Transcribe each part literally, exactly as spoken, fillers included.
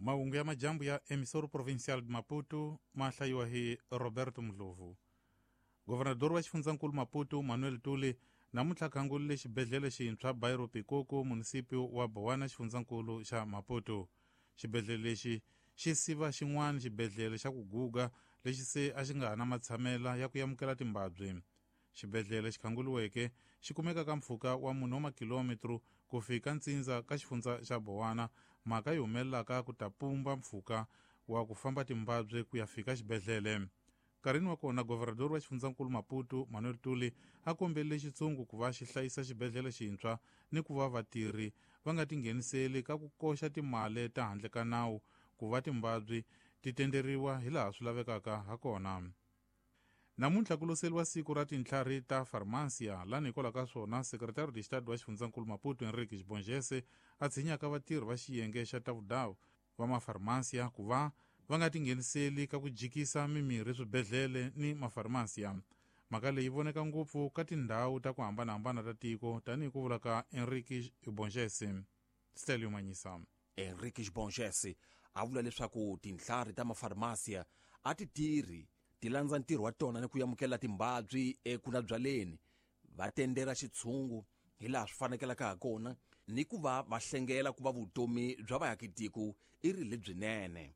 Mahungu ya majambu ya Emissoro Provincial de Maputo ma hlayiwa hi Roberto Mdlovu. Governador wa xifundzankulu Maputo Manuel Tuli namuntlha khangulile xibedhlele xintshwa Bairro Pikoko, munisipio wa Bowana, xifundzankulu xa Maputo. Xibedhlele lexi xi siva xin'wana xibedhlele xa ku guga lexi se a xi nga ha na matshamela ya ku amukela timbabyi. Xibedhlele xi khanguliweke xi kumeka ka mpfhuka wa mune wa makilometro ku fika ntsindza ka xifundza xa Bowana, mhaka yi humelelaka ku ta pumba mpfhuka wa ku famba timbabyi ku ya fika xibedhlele. Nkarhini wa kona governador wa xifundzankulu Maputo Manuel Tuli a kombelile xitshungu ku va xi hlayisa xibedhlele xintshwa ni ku va vatirhi va nga tingheniseli ka ku koxa timali ta handle ka nawu ku va timbabyi ti tenderiwa hilaha swi lavekaka hakona. Namuntlha ku loseliwa siku ra tintlhari ta farmasiya, lani hikwalaho ka swona sekretari de Estado wa xifundzankulu Maputo Henrique Bongese a tshinyaka vatirhi va xiyenge xa tavudawu va mafarmasiya ku va va nga tingheniseli ka ku jikisa mimirhi swibedhlele ni mafarmasiya. Mhaka leyi voneka ngopfu ka tindhawu ta ku hambanahambana ta tiko, tanihi ku vula ka Henrique Bongese. Stelio Manyisa. Henrique Bongese a vula leswaku tintlhari ta mafarmasiya a ti tirhi ti landza ntirho wa tona ni ku amukela timbabyi ekunabyaleni, va tendera xitshungu hilaha swi fanekelaka ha kona ni ku va va hlengela ku va vutomi bya vaakitiko i ri lebyinene.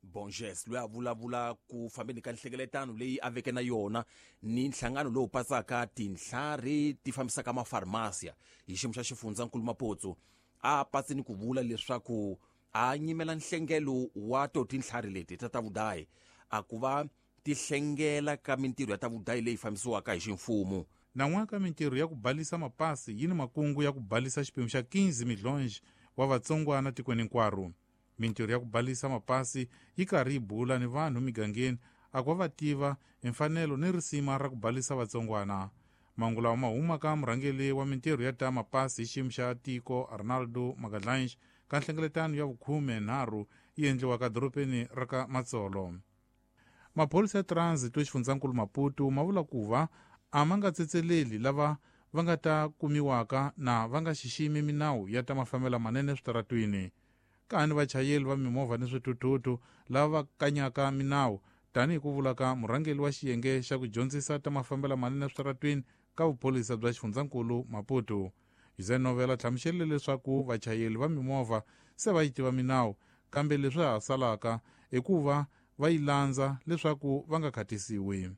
Bonges loyi a vulavula ku fambeni ka nhlengeletano leyi a veke na yona ni nhlangano lowu patsaka tintlhari ti fambisaka mafarmasiya hi xiyimo xa xifundzankulu Maputo, a patsi ni ku vula leswaku a nyimela nhlengelo wa to tintlhari leti ta ta vudayi a ku va ti hlengela ka mintirho ya ta vudayi leyi fambisiwaka hi ximfumo. Nan'waka mintirho ya ku balisa mapasi yi ni makungu ya ku balisa xiphemu xa quinze milhonji wa vatsongwana tikweni hinkwaro. Mintirho ya ku balisa mapasi yi karhi yi bula ni vanhu migangeni a ku va va tiva hi mfanelo ni risima ra ku balisa vatsongwana. Mahungu lawa ma huma ka murhangeri wa mintirho ya ta mapasi hi xiyimo xa tiko Arnaldo Magadlange ka nhlengeletano ya vukhume nharhu yi endliwaka dorobeni ra ka Matsolo. Maphorisa ya transit wa xifundzankulu Maputo ma vula ku va a ma nga tsetseleli lava va nga ta kumiwaka na va nga xiximi minawu ya ta mafambelo manene eswitaratwini. Ka ni vachayeri va mimovha ni swithuthuthu lava va kanyaka minawu, tanihi ku vula ka murhangeri wa xiyenge xa ku dyondzisa ta mafambelo manene eswitaratwini ka vuphorisa bya xifundzankulu Maputo. José Novela hlamuserile leswaku vachayeri va mimovha se va yi tiva minawu, kambe leswi ha salaka i ku va va yi landza leswaku va nga khatisiwi.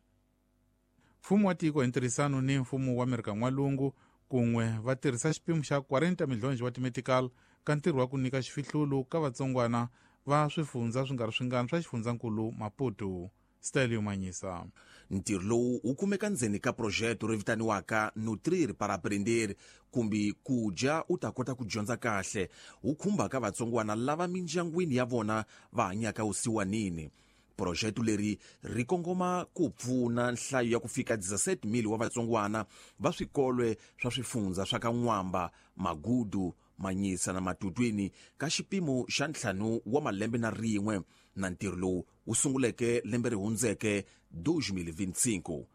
Mfumo wa tiko hi ntirhisano ni mfumo wa Amerika N'walungu kun'we va tirhisa xipimo xa quarenta milhonji wa timetical ka ntirho wa ku nyika xifihlulo ka vatsongwana va swifundza swi nga ri swingani swa xifundzankulu Maputo. Stelio Manyisa. Ntirho lowu wu kumeka ndzeni ka projeto ri vitaniwaka Nutrir para Aprender, kumbe ku dya u ta kota ku dyondza kahle, wu khumbaka vatsongwana lava mindyangwini ya vona va hanyaka vusiwanini. Projeto leri ri kongoma ku pfuna nhlayo ya ku fika dezesete mil wa vatsongwana va swikolwe swa swifundza swa ka N'wamba, Magudu, Manyisa na Matutwini ka xipimo xa ntlhanu wa malembe na rin'we, na ntirho lowu wu sunguleke lembe ri hundzeke dois mil vinte e cinco.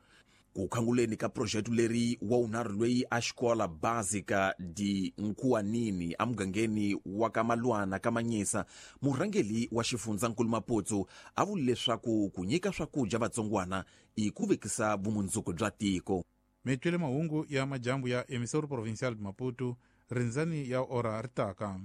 Ku khanguleni ka projeto leri wa wunharhu loyi a xikola básica de Nkuanini emugangeni wa ka Malwana ka Manyisa, murhangeri wa xifundzankulu Maputo a vule leswaku ku nyika swakudya vatsongwana i ku vekisa vumundzuku bya tiko. Mi twile mahungu ya majambu ya Emissoro Provincial de Maputo, rindzani ya ora ri taka.